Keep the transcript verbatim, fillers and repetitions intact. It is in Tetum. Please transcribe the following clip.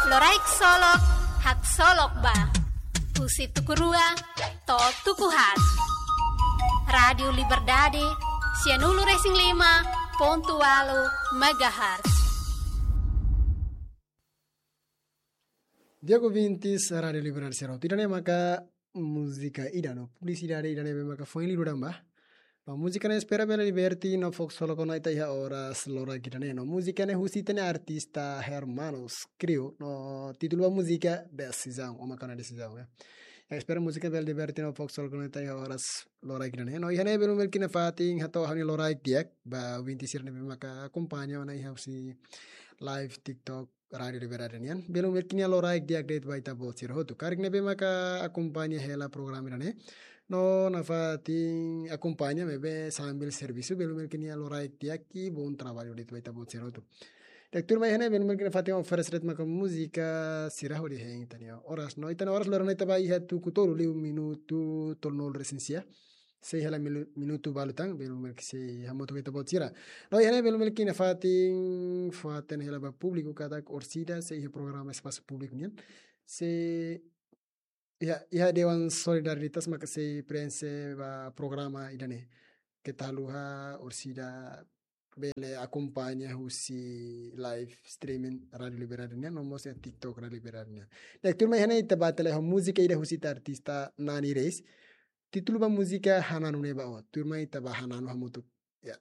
Loraik Solok, haksolok ba. Husi tuku rua to'o tuku haat. Rádiu Liberdade, sianulu-resin-lima pontu ualu megahertz. Di'ak ouvintes Rádiu Liberdade sira hotu, ida-ne'e maka múzika ida no publisidade ida ne'ebé maka foin liu daudaun ba. No múzika ne'e espera bele liberte no fó haksolok ona ita iha oras loraik ida-ne'e. No múzika ne'e husi ita-nia artista Hermanos Crew. No títulu ba múzika Desizaun, ou maka ona Desizaun, ya. Ya, espera múzika bele liberte no fó haksolok ona ita iha oras loraik ida-ne'e. No iha ne'e belun belun iha fatin hato'o ha'u-nia loraik di'ak ba ouvintes sira ne'ebé maka akompaña ona iha husi live TikTok Rádiu Liberdade nian. Belun belun iha loraik di'ak de'it ba ita-boot sira hotu karik ne'ebé maka akompaña hela programa ida-ne'e. No nafatin akompaña maibé sambil servisu, belun belun iha loraik di'ak i bom trabalho de'it ba ita-boot sira hotu. Di'ak, tuirmai iha ne'e belun belun iha fatin oferese de'it maka múzika sira hodi hein ita-nia oras. No ita-nia oras loron ne'e ita ba iha tuku tolu liu minutu tolunulu-resin-sia. Sei hela milu-, minutu balu tan, belun belun sei hamutuk ho ita-boot sira. No iha ne'e belun belun iha fatin, fatin hela ba públiku katak orsida sei iha programa espasu públiku nian. Sei iha, iha Dewan Solidaritas maka sei prenxe ba programa ida-ne'e. Keta haluha orsida bele akompaña husi live streaming Rádiu Liberdade nian, no mós iha TikTok Rádiu Liberdade nian. Di'ak, tuirmai iha ne'e ita ba tele ho múzika ida husi ita artista Nani Reis. Títulu ba múzika Hananu Ne'e Ba Ó. Tuirmai ita ba hananu hamutuk. Ya.